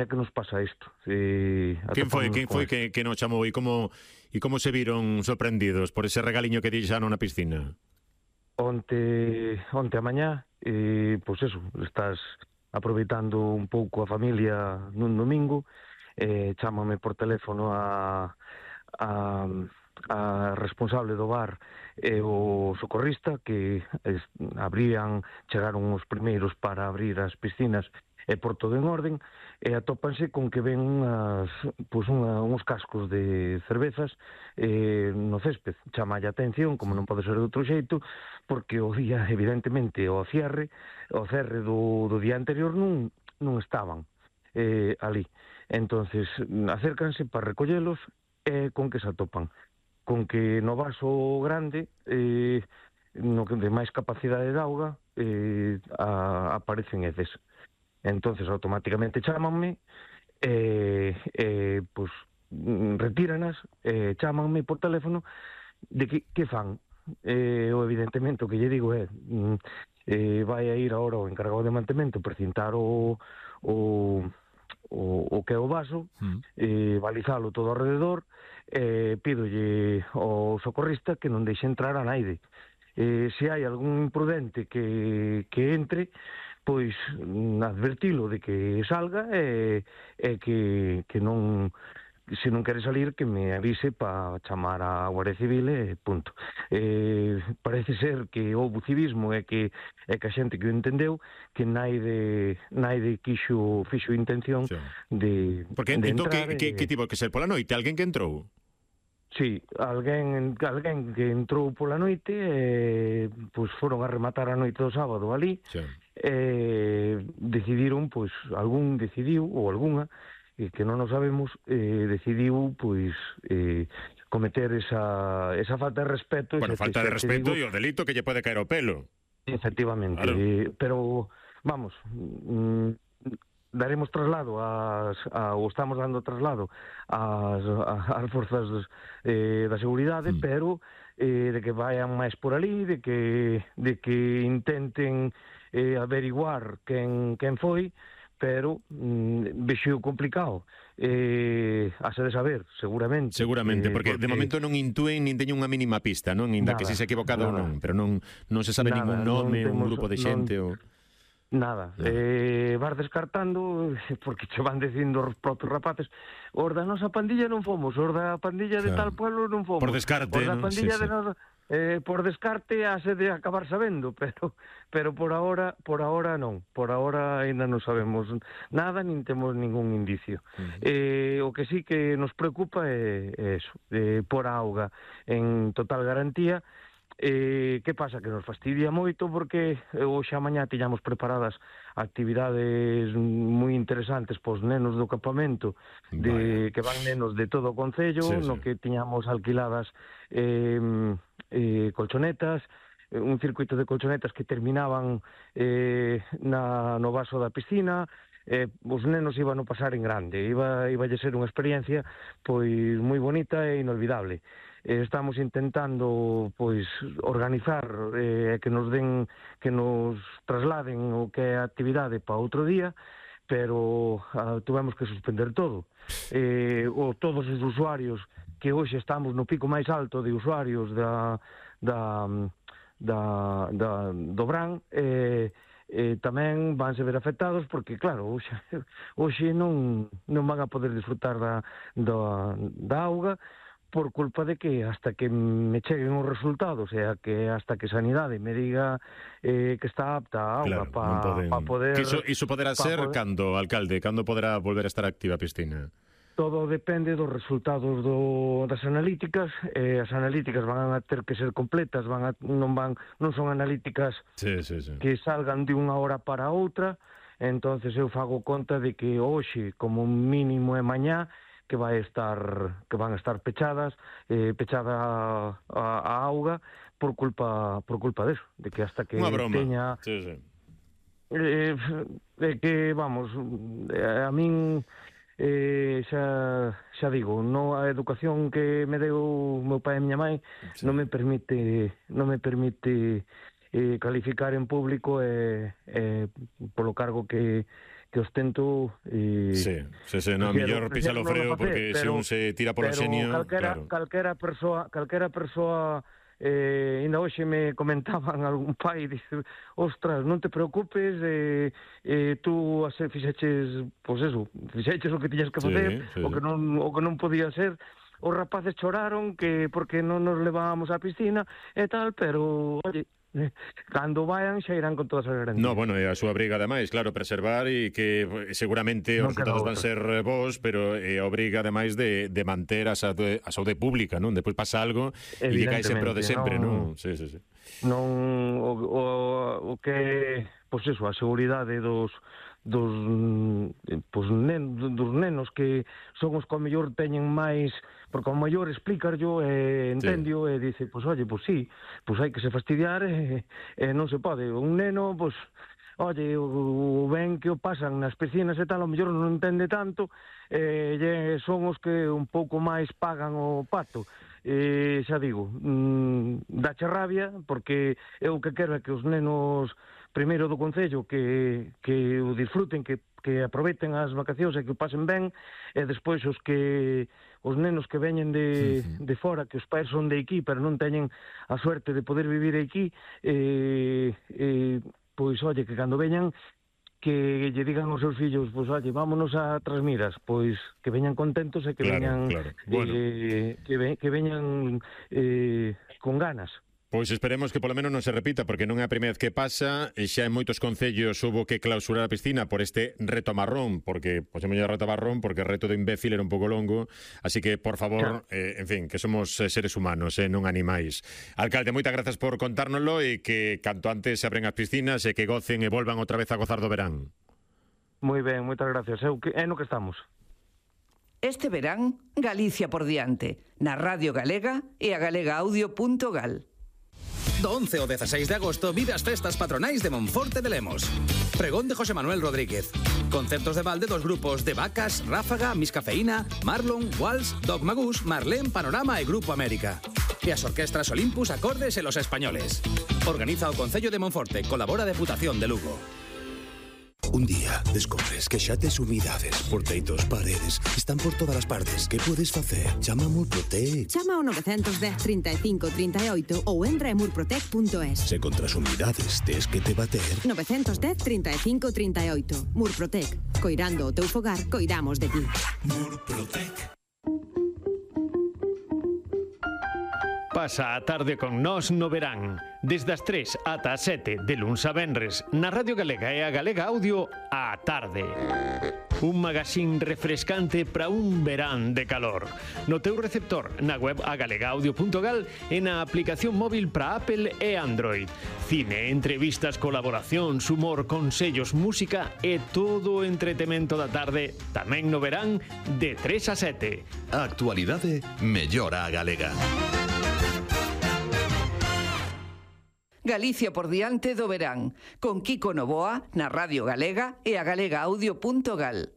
é que nos pasa isto. Quen foi que nos chamou e como se viron sorprendidos por ese regaliño que deixaron na piscina? Onte a mañá, pois eso, estás aproveitando un pouco a familia nun domingo, chámame por teléfono a responsable do bar e o socorrista que chegaron os primeiros para abrir as piscinas e por todo en orden, e atópanse con que ven uns cascos de cervezas no césped. Chama a atención, como non pode ser de outro xeito, porque o día, evidentemente, o cerre do día anterior non estaban ali. Entonces, acércanse para recollelos e con que se atopan. Con que no vaso grande, no que de máis capacidade de auga, aparecen heces. Entonces automáticamente chámanme pois retíranas, chámanme por teléfono de que fan. O evidentemente o que lle digo é vai a ir agora o encargado de mantemento precintar o que é o vaso, balizalo todo alrededor, pídolle ao socorrista que non deixe entrar a naide. Se hai algún imprudente que entre, pois advertilo de que salga e que non, se non quere salir, que me avise para chamar a Guardia Civil e punto. Parece ser que houve civismo e que a xente que o entendeu, que naide fixo intención de entrar. Que tivo que ser pola noite? Alguén que entrou? Sí, alguén que entrou pola noite pois foron a rematar a noite do sábado ali. Decidiron, pois algún decidiu ou algunha que non o sabemos, decidiu pois cometer esa falta de respeto. Bueno, falta de respeto e o delito que lle pode caer ao pelo. Efectivamente, claro. Pero vamos, daremos traslado ou estamos dando traslado ás forzas da seguridade, pero de que vayan máis por ali, de que intenten averiguar quen foi, pero vexo complicado. Hase de saber, seguramente. Seguramente, porque de momento non intúen nin teñen unha mínima pista, non? Inda que si se equivocado ou non, pero non se sabe ningún nome, un grupo de xente ou... Nada, vas descartando, porque che van dicindo os propios rapaces, os da nosa pandilla non fomos, os da pandilla de tal pueblo non fomos. Por descarte, os da non? pandilla de nosa... por descarte hase de acabar sabendo, pero por ahora non, por ahora ainda non sabemos nada, nin temos ningún indicio. O que sí que nos preocupa é eso, por a auga en total garantía. Que pasa? Que nos fastidia moito porque hoxe a mañá tiñamos preparadas actividades moi interesantes pos nenos do campamento, que van nenos de todo o concello, no que tiñamos alquiladas colchonetas, un circuito de colchonetas que terminaban no vaso da piscina. Os nenos iban a pasar en grande, iba a ser unha experiencia pois moi bonita e inolvidable. Estamos intentando pois organizar que nos trasladen o que é a actividade para outro día, pero tuvemos que suspender todo. Todos os usuarios que hoxe estamos no pico máis alto de usuarios do Bran, tamén vanse ver afectados porque, claro, hoxe non van a poder disfrutar da auga por culpa de que hasta que me cheguen os resultados, que hasta que Sanidade me diga que está apta a auga para poder... Iso poderá ser cando, alcalde, cando poderá volver a estar activa a piscina? Todo depende dos resultados das analíticas. As analíticas van a ter que ser completas, non son analíticas que salgan de unha hora para outra. Entonces eu fago conta de que hoxe, como mínimo é mañá, que van a estar pechada a auga por culpa deso, de que hasta que teña que, vamos, a min xa digo, a educación que me deu meu pai e miña mãe non me permite calificar en público polo cargo que ostento sí, no, mellor pisar o freo porque se un se tira polo xenio, claro. Calquera persoa ainda hoxe me comentaban algún pai, dice, ostras, non te preocupes, tú fixeches, pois eso, fixeches o que tiñas que facer, o que non podía ser. Os rapaces choraron que porque non nos levábamos á piscina e tal, pero, oye, cando vayan xa irán con todas as garantías. No, bueno, é a súa obriga ademais, claro, preservar e que seguramente os resultados van ser bons, pero é a obriga ademais de manter a saúde pública, non? Depois pasa algo e lle cae sempre o de sempre, non? Sí. Non o que, pois eso, a seguridade dos nenos que son os que ao mellor teñen máis, porque ao mellor explícarllo e entendio e dice, pois oye, pois sí, pois hai que se fastidiar e non se pode. Un neno, pois, oye, o ben que o pasan nas piscinas e tal, ao mellor non entende tanto, son os que un pouco máis pagan o pato. Xa digo, dache rabia, porque eu o que quero é que os nenos primeiro do Concello que o disfruten, que aproveiten as vacacións e que o pasen ben, e despois os nenos que veñen de fora, que os pais son de aquí, pero non teñen a suerte de poder vivir aquí, pois, oye, que cando veñan, que lle digan aos seus fillos, pois, oye, vámonos a Trasmiras, pois, que veñan contentos e que veñan bueno. que veñan con ganas. Pois esperemos que polo menos non se repita, porque non é a primeira vez que pasa, e xa en moitos concellos houbo que clausurar a piscina por este reto marrón, porque, pois é mellor reto marrón, porque o reto do imbécil era un pouco longo, así que, por favor, en fin, que somos seres humanos, non animais. Alcalde, moitas grazas por contárnoslo e que canto antes se abren as piscinas e que gocen e volvan outra vez a gozar do verán. Moi ben, moitas gracias. É no que estamos. Este verán, Galicia por diante, na Radio Galega e a galegaaudio.gal. Do 11 ao 16 de agosto vive as festas patronais de Monforte de Lemos. Pregón de José Manuel Rodríguez. Concertos de balde dos grupos de Vacas, Ráfaga, Miscafeína, Marlon, Walsh, Doc Magus, Marlén, Panorama e Grupo América. E as orquestras Olympus, Acordes e Los Españoles. Organiza o Concello de Monforte, colabora a Deputación de Lugo. Un día descubres que xa tes humidades por teitos, paredes, están por todas as partes. Que podes facer? Chama a Murprotec. Chama ao 910 35 38 ou entra en murprotec.es. Se contra as humidades tes que te bater. 910 35 38. Murprotec. Coirando o teu fogar, coidamos de ti. Murprotec. Pasa a tarde con nós no verán, desde as 3 ata as 7 de luns a venres, na Radio Galega e a Galega Audio, á tarde. Un magazín refrescante para un verán de calor. No teu receptor, na web agalegaaudio.gal e na aplicación móvil para Apple e Android. Cine, entrevistas, colaboracións, humor, consellos, música e todo o entretemento da tarde, tamén no verán, de 3 a 7. A actualidade mellora a galega. Galicia por diante do verán, con Kiko Novoa na Radio Galega e a galegaaudio.gal.